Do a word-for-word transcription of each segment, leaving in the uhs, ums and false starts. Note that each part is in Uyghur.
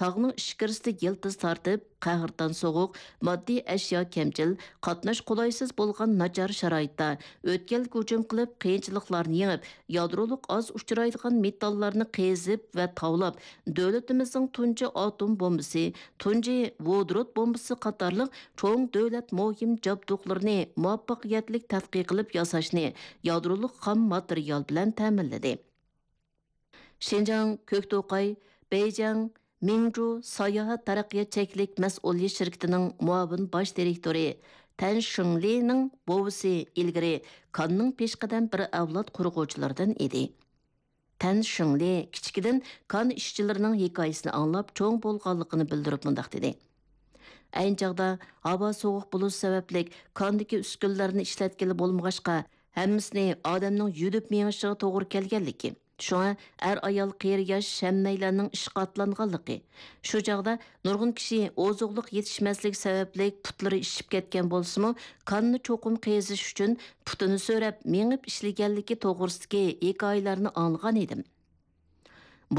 تاغنىڭ ئىچكىرىسىدە يىلتىز تارتىپ، قەھرىتان سوغۇق، ماددىي ئەشيا كەمچىل، قاتناش قولايسىز بولغان ناچار شارائىتتا، ئۆتكەلگە ھۇجۇم قىلىپ، قىيىنچىلىقلارنى يېڭىپ، يادرولۇق ئاز ئۇچرايدىغان مېتاللارنى قېزىپ ۋە تاۋلاپ، دۆلىتىمىزنىڭ تۇنجى ئاتوم بومبىسى، تۇنجى ۋودورود بومبىسى قاتارلىق چوڭ دۆلەت مۇھىم جابدۇقلىرىنى مۇۋەپپەقىيەتلىك تەتقىق قىلىپ ياساشنى يادرولۇق خام ماتېرىيال بىلەن تەمىنلىدى. شىنجاڭ كۆكتوقاي بېيجىڭ مىڭجۇ ساياھەت تەرەققىيات چەكلىك مەسئۇلىيەت شىركىتىنىڭ مۇئاۋىن باش دىرېكتورى تەن شىڭلىنىڭ بوۋىسى ئىلگىرى كاننىڭ پېشقەدەم بىر ئەۋلاد قۇرغۇچىلىرىدىن ئىدى. تەن شىڭلى كىچىكىدىن كان ئىشچىلىرىنىڭ ھېكايىسىنى ئاڭلاپ چوڭ بولغانلىقىنى بىلدۈرۈپ مۇنداق دېدى: ئەينى چاغدا ھاۋا سوغۇق بولۇش سەۋەبلىك كاندىكى ئۈسكۈنىلەرنى ئىشلەتكىلى بولمىغاچقا، ھەممىسىنى ئادەمنىڭ يۈدۈپ مېڭىشىغا توغرا كەلگەنلىكى، شۇڭا ئەر-ئايال، قېرى-ياش ھەممەيلەننىڭ ئىشقا ئاتلانغانلىقى، شۇ چاغدا نۇرغۇن كىشى ئوزۇقلۇق يېتىشمەسلىكى سەۋەبلىك پۇتلىرى ئىششىپ كەتكەن بولسىمۇ، كاننى چوقۇم قېزىش ئۈچۈن پۇتىنى سۆرەپ مېڭىپ ئىشلىگەنلىكى توغرىسىدىكى ھېكايىلەرنى ئاڭلىغان ئىدىم.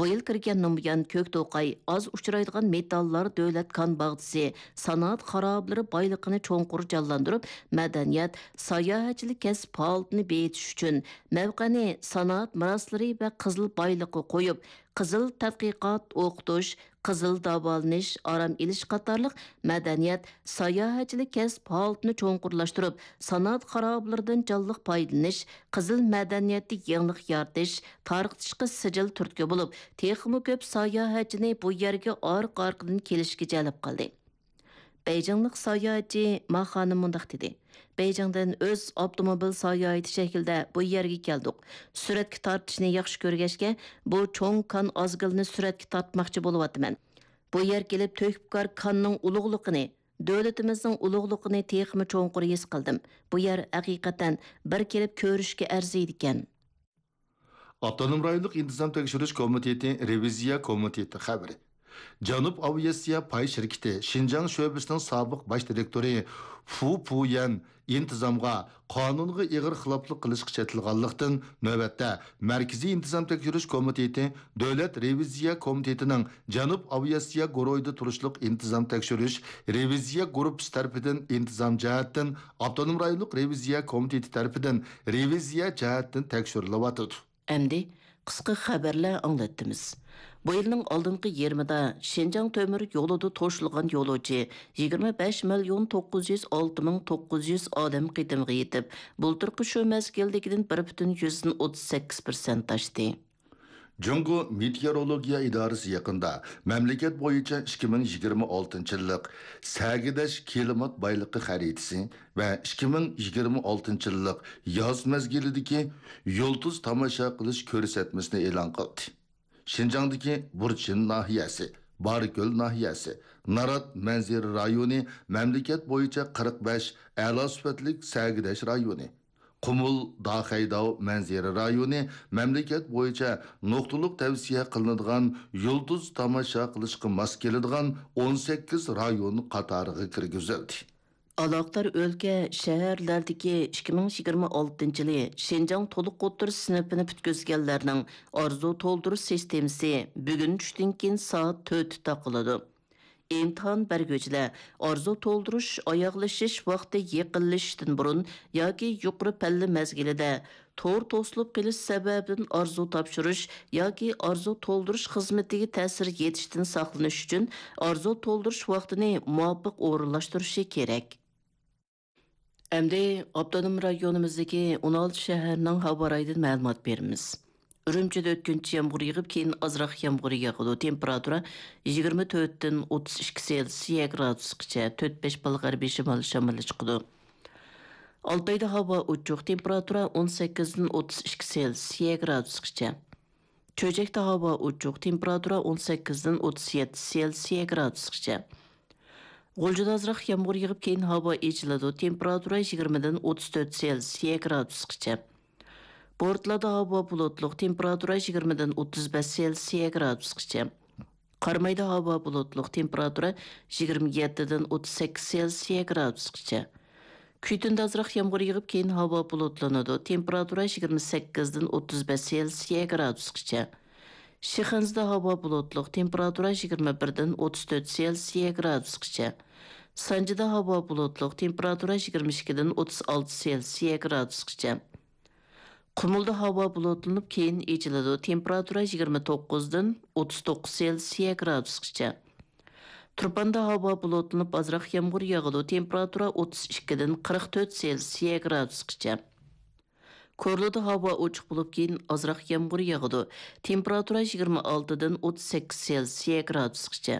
بۇ يىل كىرگەندىن بۇيان، كۆكتوقاي ئاز ئۇچرايدىغان مېتاللار دۆلەت كان باغچىسى سانائەت خارابىلىرى بايلىقىنى چوڭقۇر جانلاندۇرۇپ، مەدەنىيەت، ساياھەتچىلىك كەسىپ ھالىتىنى بېيىتىش ئۈچۈن، مەۋقەنى سانائەت مىراسلىرى ۋە قىزىل بايلىققا قويۇپ، قىزىل تەتقىقات، ئوقۇتۇش، قىزىل داۋالىنىش، ئارام ئېلىش قاتارلىق مەدەنىيەت، ساياھەتچىلىك كەسىپ ھالىتىنى چوڭقۇرلاشتۇرۇپ، سانائەت خارابىلىرىدىن جانلىق پايدىلىنىش، قىزىل مەدەنىيەتتە يېڭىلىق يارىتىش، تارقىتىشقا سىجىل تۈرتكە بولۇپ، تېخىمۇ كۆپ ساياھەتچىنى بۇ يەرگە ئارقا-ئارقىدىن كېلىشكە جەلپ قىلدى. بېيجىڭلىق ساياھەتچى ما خانىم مۇنداق دېدى: بېيجىڭدىن ئۆز ئاپتوموبىل ساياھىتى شەكلىدە بۇ يەرگە كەلدۇق. سۈرەتكە تارتىشنى ياخشى كۆرگەچكە، بۇ چوڭ كان ئازگىلىنى سۈرەتكە تارتماقچى بولۇۋاتىمەن. بۇ يەرگە كېلىپ تۆھپىكار كاننىڭ ئۇلۇغلۇقىنى، دۆلىتىمىزنىڭ ئۇلۇغلۇقىنى تېخىمۇ چوڭقۇر ھېس قىلدىم. بۇ يەر ھەقىقەتەن بىر كېلىپ كۆرۈشكە ئەرزىيدىكەن. ئاپتونوم رايونلۇق ئىنتىزام تەكشۈرۈش كومىتېتى رېۋىزىيە كومىتېتى خەۋىرى. جەنۇب ئاۋىئاتسىيە پاي شىركىتى شىنجاڭ شۆبىسىنىڭ سابىق باش دىرېكتورى فۇ پۇيەن ئىنتىزامغا، قانۇنغا ئېغىر خىلاپلىق قىلىشقا چېتىلغانلىقتىن، نۆۋەتتە مەركىزىي ئىنتىزام تەكشۈرۈش كومىتېتى دۆلەت رېۋىزىيە كومىتېتىنىڭ جەنۇب ئاۋىئاتسىيە گۇرۇھىدا تۇرۇشلۇق ئىنتىزام تەكشۈرۈش رېۋىزىيە گۇرۇپپىسى تەرىپىدىن ئىنتىزام جەھەتتىن، ئاپتونوم رايونلۇق رېۋىزىيە كومىتېتى تەرىپىدىن رېۋىزىيە جەھەتتىن تەكشۈرۈلۈۋاتىدۇ. ئەمدى قىسقا خەۋەرلەر ئاڭلاتتىمىز. بۇ يىلنىڭ ئالدىنقى يېرىمىدا شىنجاڭ تۆمۈر يولىدا توشۇلغان يولۇچى يىگىرمە بەش مىليون توققۇز يۈز ئالتە مىڭ توققۇز يۈز ئادەم قېتىمغا يېتىپ، بۇلتۇرقى شۇ مەزگىلدىكىدىن بىر پۈتۈن يۈزدىن ئوتتۇز سەككىز پىرسەنت ئاشتى. جۇڭگو مېتېئورولوگىيە ئىدارىسى يېقىندا مەملىكەت بويىچە ئىككى مىڭ يىگىرمە ئالتىنچى يىللىق سەگىداش كىلىمات بايلىقى خەرىتىسى ۋە ئىككى مىڭ يىگىرمە ئالتىنچى يىللىق ياز مەزگىلىدىكى يۇلتۇز تاماشا قىلىش كۆرسەتمىسىنى ئېلان قىلدى. شىنجاڭدىكى بۇرچىن ناھىيەسى، بارىكۆل ناھىيەسى، نارات مەنزىرە رايونى مەملىكەت بويىچە قىرىق بەش ئەلا سۈپەتلىك سەگىداش رايونى، قۇمۇل، داخەيداۋ مەنزىرە رايونى مەملىكەت بويىچە نۇقتىلىق تەۋسىيە قىلىنىدىغان يۇلتۇز تاماشا قىلىشقا ماس كېلىدىغان ئون سەككىز رايون قاتارىغا كىرگۈزۈلدى. ئالاقىدار ئۆلكە، شەھەرلەردىكى ئىككى مىڭ يىگىرمە ئالتىنچى يىلى شىنجاڭ تولۇق ئوتتۇرا سىنىپىنى پۈتكۈزگەنلەرنىڭ ئارزۇ تولدۇرۇش سىستېمىسى بۈگۈن چۈشتىن كېيىن سائەت تۆتتە تاقىلىدۇ. ئىمتىھان بەرگۈچىلەر ئارزۇ تولدۇرۇش ئاياغلىشىش ۋاقتى يېقىنلىشىشتىن بۇرۇن ياكى يۇقىرى پەللە مەزگىلىدە تور توسۇلۇپ قېلىش سەۋەبىدىن ئارزۇ تاپشۇرۇش ياكى ئارزۇ تولدۇرۇش خىزمىتىگە تەسىر يېتىشتىن ساقلىنىش ئۈچۈن ئارزۇ تولدۇرۇش ۋاقتىنى مۇۋاپىق ئورۇنلاشتۇرۇشى كېرەك. ئەمدى ئاپتونوم رايونىمىزدىكى ئون ئالتە شەھەرنىڭ ھاۋا رايىدىن مەلۇمات بېرىمىز. ئۈرۈمچىدە ئۆتكۈنچى يامغۇر يېغىپ، كېيىن ئازراق يامغۇر ياغىدۇ. تېمپېراتۇرا يىگىرمە تۆتتىن ئوتتۇز ئىككى سېلسىيە گرادۇسقىچە، تۆت بەش بال غەربىي شىمالىي شامىلى چىقىدۇ. ئالتايدا ھاۋا ئوچۇق، تېمپېراتۇرا ئون سەككىزدىن ئوتتۇز ئىككى سېلسىيە گرادۇسقىچە. چۆچەكتە ھاۋا ئوچۇق، تېمپېراتۇرا ئون سەككىزدىن ئوتتۇز يەتتە سېلسىيە گرادۇسقىچە. غۇلجىدا ئازراق يامغۇر يېغىپ، كېيىن ھاۋا ئېچىلىدۇ، تېمپېراتۇرا يىگىرمىدىن ئوتتۇز تۆت سېلسىيە گرادۇسقىچە. بورتلادا ھاۋا بۇلۇتلۇق، تېمپېراتۇرا يىگىرمىدىن ئوتتۇز بەش سېلسىيە گرادۇسقىچە. قارامايدا ھاۋا بۇلۇتلۇق، تېمپېراتۇرا يىگىرمە يەتتىدىن ئوتتۇز سەككىز سېلسىيە گرادۇسقىچە. كۈيتۈندە ئازراق يامغۇر يېغىپ، كېيىن ھاۋا بۇلۇتلىنىدۇ، تېمپېراتۇرا يىگىرمە سەككىزدىن ئوتتۇز بەش سېلسىيە گرادۇسقىچە. شىخەنزىدە ھاۋا بۇلۇتلۇق، تېمپېراتۇرا يىگىرمە بىردىن ئوتتۇز تۆت سېلسىيە گرادۇسقىچە. سانجىدا ھاۋا بۇلۇتلۇق، تېمپېراتۇرا يىگىرمە ئىككىدىن ئوتتۇز ئالتە سېلسىيە گرادۇسقىچە. قۇمۇلدا ھاۋا بۇلۇتلىنىپ، كېيىن ئېچىلىدۇ، تېمپېراتۇرا يىگىرمە توققۇزدىن ئوتتۇز توققۇز سېلسىيە گرادۇسقىچە. تۇرپاندا ھاۋا بۇلۇتلىنىپ، ئازراق يامغۇر ياغىدۇ، تېمپېراتۇرا ئوتتۇز ئىككىدىن قىرىق تۆت سېلسىيە گرادۇسقىچە. كورلىدا ھاۋا ئوچۇق بولۇپ، كېيىن ئازراق يامغۇر ياغىدۇ. تېمپېراتۇرا يىگىرمە ئالتىدىن ئوتتۇز سەككىز سېلسىيە گرادۇسقىچە.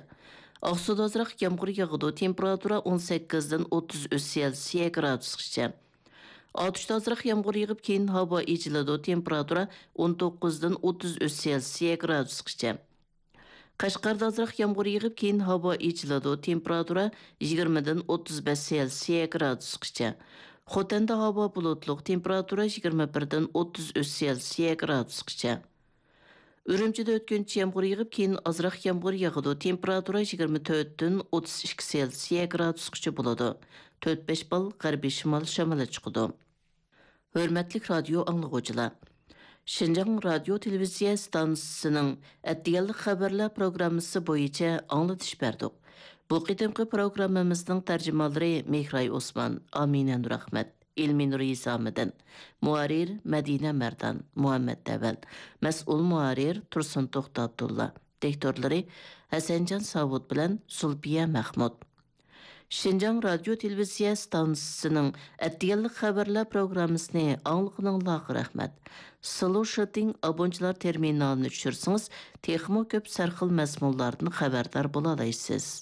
ئاقسۇدا ئازراق يامغۇر ياغىدۇ. تېمپېراتۇرا ئون سەككىزدىن ئوتتۇز ئۈچ سېلسىيە گرادۇسقىچە. ئاتۇشتا ئازراق يامغۇر يېغىپ، كېيىن ھاۋا ئېچىلىدۇ. تېمپېراتۇرا ئون توققۇزدىن ئوتتۇز ئۈچ سېلسىيە گرادۇسقىچە. قەشقەردە ئازراق يامغۇر يېغىپ، كېيىن ھاۋا ئېچىلىدۇ. تېمپېراتۇرا يىگىرمىدىن ئوتتۇز بەش سېلسىيە گرادۇسقىچە. خوتەندە ھاۋا بۇلۇتلۇق، تېمپېراتۇرا يىگىرمە بىردىن ئوتتۇز ئۈچ سېلسىيە گرادۇسقىچە. ئۈرۈمچىدە ئۆتكۈنچى يامغۇر يېغىپ، كېيىن ئازراق يامغۇر ياغىدۇ. تېمپېراتۇرا يىگىرمە تۆتتىن ئوتتۇز ئىككى سېلسىيە گرادۇسقىچە بولىدۇ. تۆت بەش بال غەربىي شىمال شامىلى چىقىدۇ. ھۆرمەتلىك رادىيو ئاڭلىغۇچىلار! شىنجاڭ رادىيو تېلېۋىزىيە ئىستانسىسىنىڭ ئەتىگەنلىك خەۋەرلەر پروگراممىسى بويىچە ئاڭلىتىش بەردۇق. بۇ قېتىمقى پروگراممىمىزنىڭ تەرجىمانلىرى مېھراي ئوسمان، ئامىنە نۇرئەخمەت، ئېلمىنۇر ھېسامىدىن، مۇھەررىر مەدىنە مەردان، مۇھەممەد دەۋەل، مەسئۇل مۇھەررىر تۇرسۇن توختى ئابدۇللا، دىكتورلىرى ھەسەنجان ساۋۇت بىلەن زۇلپىيە مەخمۇت. شىنجاڭ رادىيو تېلېۋىزىيە ئىستانسىسىنىڭ ئەتىگەنلىك خەۋەرلەر پروگراممىسىنى ئاڭلىغىنىڭلارغا رەھمەت. سلۇشىتىڭ ئابونچىلار تېرمىنالىنى چۈشۈرسىڭىز، تېخىمۇ كۆپ سەرخىل مەزمۇنلاردىن خەۋەردار بولالايسىز.